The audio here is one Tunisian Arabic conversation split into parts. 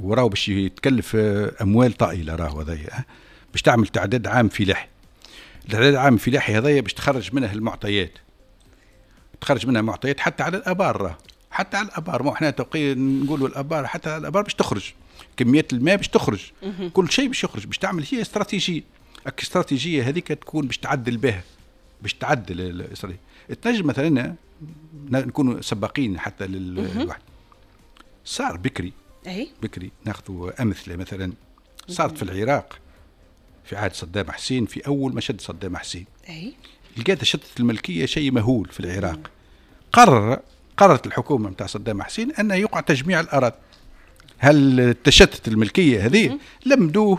وراهو باش يتكلف اموال طائلة، راهو هذايا باش تعمل تعداد عام فلاحي. التعداد العام الفلاحي هذايا باش تخرج منه المعطيات، تخرج منها معطيات حتى على الابار، راه حتى على الابار، ما احنا توقي نقولوا الابار، حتى على الابار باش تخرج كميات الماء، باش تخرج كل شيء باش يخرج، باش تعمل هي استراتيجية. الاستراتيجية هذيك تكون باش تعدل بها، باش تعدل الاستراتيجية. تنجم مثلا نكونوا سباقين حتى للواحد. صار بكري، بكري ناخذ امثلة، مثلا صارت في العراق في عهد صدام حسين، في اول ما شد صدام حسين لقات تشتت الملكية شيء مهول في العراق. قررت الحكومة نتاع صدام حسين ان يقع تجميع الاراضي. هل التشتت الملكية هذه لمدوا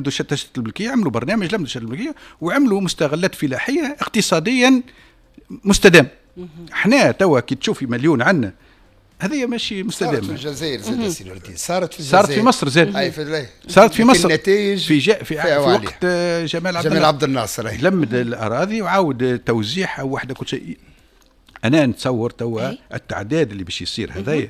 تشتت الملكيه، عملوا برنامج لمدوا تشتت الملكية وعملوا مستغلات فلاحية اقتصاديا مستدام. احنا توا كي تشوفي مليون عندنا هذه ماشي مستدامة. صارت في الجزائر زاد سي نور الدين، صارت في الجزائر، صارت في مصر زاد، اي في صارت في مصر النتائج في وقت جمال عبد الناصر لمد الاراضي وعاود توزيعها وحده كل شيء. انا نتصور توا التعداد اللي باش يصير هذايا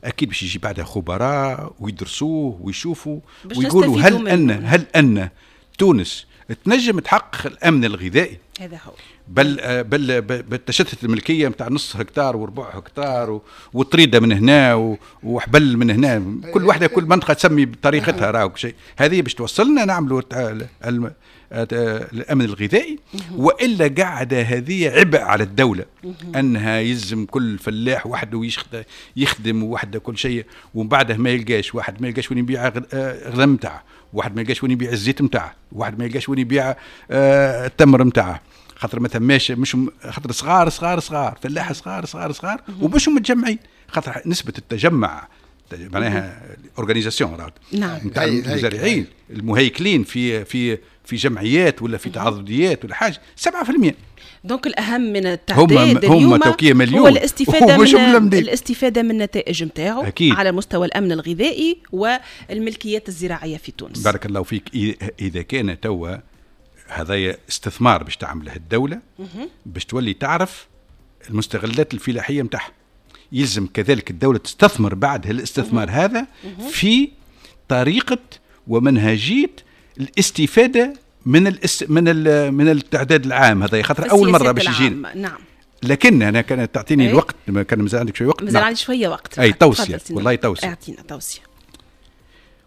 اكيد باش يجي بعدها خبراء ويدرسوه ويشوفوا ويقولوا هل ان تونس تنجم تحقق الامن الغذائي. هذا هو. بل بالتشتت الملكية نتاع نص هكتار وربع هكتار وطريده من هنا وحبل من هنا، كل واحدة كل منطقة تسمي بطريقتها راهو شيء. هذه باش توصلنا نعملوا الامن الغذائي، والا قاعدة هذه عبء على الدولة انها يلزم كل فلاح وحده يخدم وحده كل شيء، ومن بعده ما يلقاش واحد، ما يلقاش وين يبيع الغنم نتاعه، واحد ما يلقاش وين يبيع الزيت نتاعه، واحد ما يلقاش وين يبيع التمر نتاعه، خاطر ما ثماش، مش خاطر صغار صغار صغار فلاحة صغار صغار صغار ومش متجمعين، خاطر نسبه التجمع معناها organisation نتاع المزارعين المهيكلين في في في جمعيات ولا في تعاضديات ولا حاجة 7%. donc الاهم من التعداد اليوم هو الاستفادة من الاستفادة من النتائج نتاعو على مستوى الامن الغذائي والملكيات الزراعية في تونس. بارك الله فيك. اذا كان توا هذا استثمار باش تعمله الدولة باش تولي تعرف المستغلات الفلاحية نتاعها، يلزم كذلك الدولة تستثمر بعد الاستثمار هذا في طريقه ومنهجيه الاستفادة من من التعداد العام هذا، خاطر اول مرة باش يجينا. نعم. لكن انا كانت تعطيني الوقت، كان مازال عندك شوية وقت. مازال عندي شوية وقت. اي توصية، والله توصية. اعطينا توصية.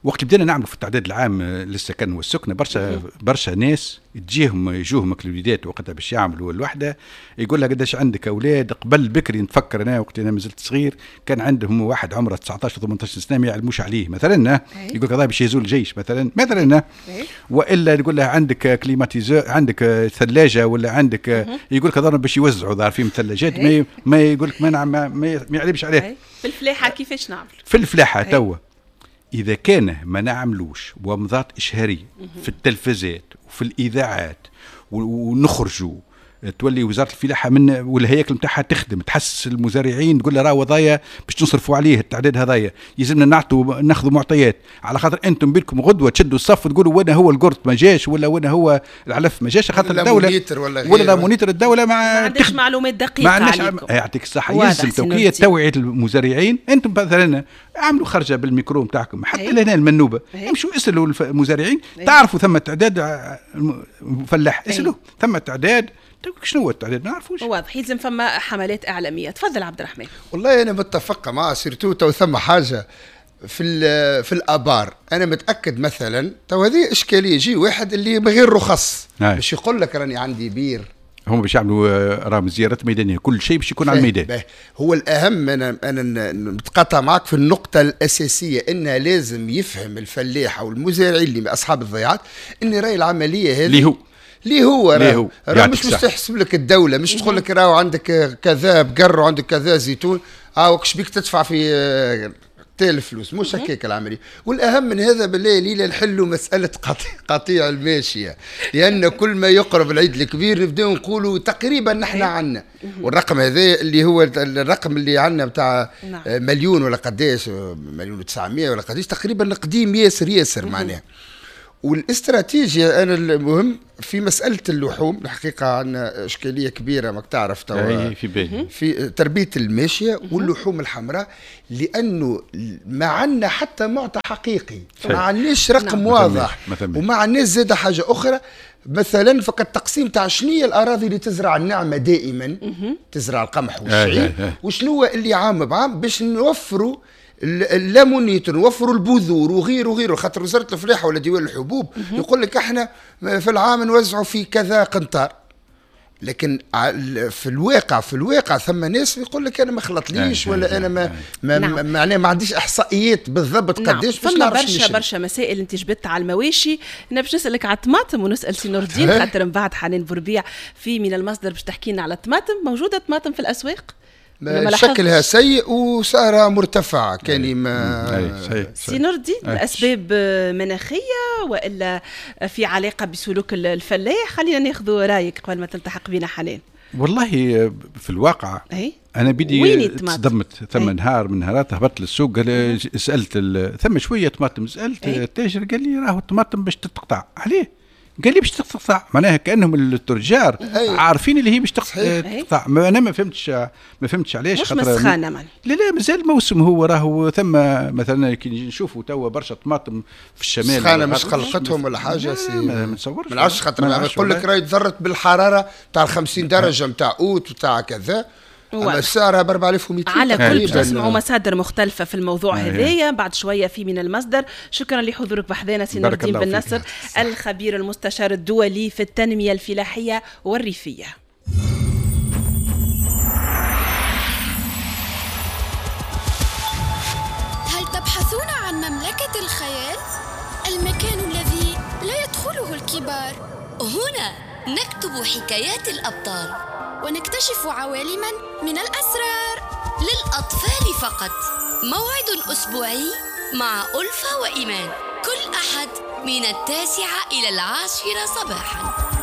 وقت بدينا نعملوا في التعداد العام للسكن والسكنه، برشا برشا ناس تجيهم يجوهم الوليدات وقتها باش يعملوا الوحدة، يقول لها قداش عندك اولاد. قبل بكري نتفكر انا وقت انا مازلت صغير كان عندهم واحد عمره 19 18 سنة ما يعلموش عليه مثلا، يقول لك هذا باش يزول الجيش مثلا، والا يقول لها عندك climatiseur، عندك ثلاجه ولا عندك، يقول لك هذا باش يوزعوا ظهر فيهم ثلاجات، ما يقول لك ما يعلمش عليه. في الفلاحة كيفاش نعمل؟ في الفلاحة توا إذا كان ما نعملوش ومضات إشهارية في التلفزات وفي الإذاعات ونخرجوا، تولي وزارة الفلاحة من والهياكل نتاعها تخدم تحسس المزارعين، تقول له راه وضايا باش نصرفوا عليه التعداد هذايا، يلزمنا نعطوا ناخذوا معطيات، على خاطر انتم بينكم غدوه تشدوا الصف وتقولوا وين هو القرط ما جاش ولا وين هو العلف ما جاش، خاطر الدولة ولا moniteur الدولة ما عندهاش معلومات دقيقة عليكم. يعطيك الصحة. يلزم توكيه توعيه المزارعين. انتم مثلا اعملوا خرجه بالميكرو نتاعكم حتى لهنا المنوبه، امشوا اسالوا المزارعين، تعرفوا ثم تعداد فلاح، اسالوا ثم تعداد شنو هو التعداد ما نعرفوش. واضح، يلزم فما حملات اعلامية. تفضل عبد الرحمن. والله انا متفق مع surtout تو ثم حاجة في الابار، انا متاكد مثلا تو هذه اشكالية، يجي واحد اللي بغير رخص باش يقول لك راني عندي بير، هم باش يعملوا راهم زيارات ميدانية، كل شيء باش يكون على الميدان. هو الاهم، انا متقاطع معك في النقطة الاساسية، ان لازم يفهم الفلاح او المزارعين اللي اصحاب الضيعات ان راي العملية هذه اللي هو راه مش تحسب لك الدولة، مش تقول لك راهو عندك كذا بقر وعندك كذا زيتون، وكش بيك تدفع في تال فلوس، مش هكاك العملية. والاهم من هذا بالله ليلى نحلوا مسالة قطيع الماشية، لان كل ما يقرب العيد الكبير نبداو نقولوا تقريبا نحن عندنا، والرقم هذا اللي هو الرقم اللي عندنا بتاع مليون ولا قداش، 1,9 مليون ولا قداش تقريبا، قديم ياسر ياسر معناها. والاستراتيجيا انا المهم في مسالة اللحوم، الحقيقة عندنا اشكالية كبيرة ماك تعرف توا في بالي في تربيه الماشية واللحوم الحمراء، لانه ما عندنا حتى معطى حقيقي، ما عندناش رقم نعم. واضح، وما عندناش زاد حاجة اخرى مثلا فقط تقسيم تاع شنية الاراضي اللي تزرع النعمة دائما تزرع القمح والشعير، وشنو اللي عام بعام باش نوفروا اللامونيت، نوفروا البذور وغيره وغيره، خاطر وزارة الفلاحة ولا ديوان الحبوب يقول لك احنا في العام نوزعوا في كذا قنطار، لكن في الواقع ثم ناس يقول لك انا ما خلطليش ولا انا ما ما معناها ما عنديش احصائيات بالضبط قداش باش نعرف. برشا مسائل انت جبت على المواشي. انا باش نسالك على الطماطم ونسال سي نور الدين خاطر من بعد حنان بوربيع في من المصدر باش تحكي لنا على الطماطم. موجودة طماطم في الاسواق؟ شكلها سيء وسعرها مرتفع كان ما سي نور الدين الاسباب مناخيه والا في علاقة بسلوك الفلاح؟ خلينا ناخذ رايك قبل ما تلتحق بنا حنان. والله في الواقع انا بدي تصدمت ثم نهار من نهارات هبطت للسوق، سالت ثم شوية طماطم، سالت التاجر قال لي راهو الطماطم باش تتقطع. عليه؟ قال لي باش تقطع، معناها كانهم التجار عارفين اللي هي باش تقطع. انا ما فهمتش علاش، مش مسخانه معناها. لا مازال الموسم هو راهو ثم مثلا كي نشوفوا توا برشا طماطم في الشمال، سخانه مش قلقتهم ولا حاجة. ما نتصورش، ما نعرفش، خاطر يقول لك راهي تضرت بالحرارة تاع 50 درجه نتاع اوت وتاع كذا، اما سعرها ب 4200. على كل باش نسمعوا مصادر مختلفة في الموضوع هذايا بعد شوية في من المصدر. شكرا لحضورك بحذانا سي نور الدين بن نصر، الخبير المستشار الدولي في التنمية الفلاحية والريفيه. هل تبحثون عن مملكة الخيال؟ المكان الذي لا يدخله الكبار. هنا نكتب حكايات الأبطال ونكتشف عوالما من الأسرار للأطفال فقط. موعد أسبوعي مع ألفة وإيمان، كل أحد من 9 إلى 10 صباحا.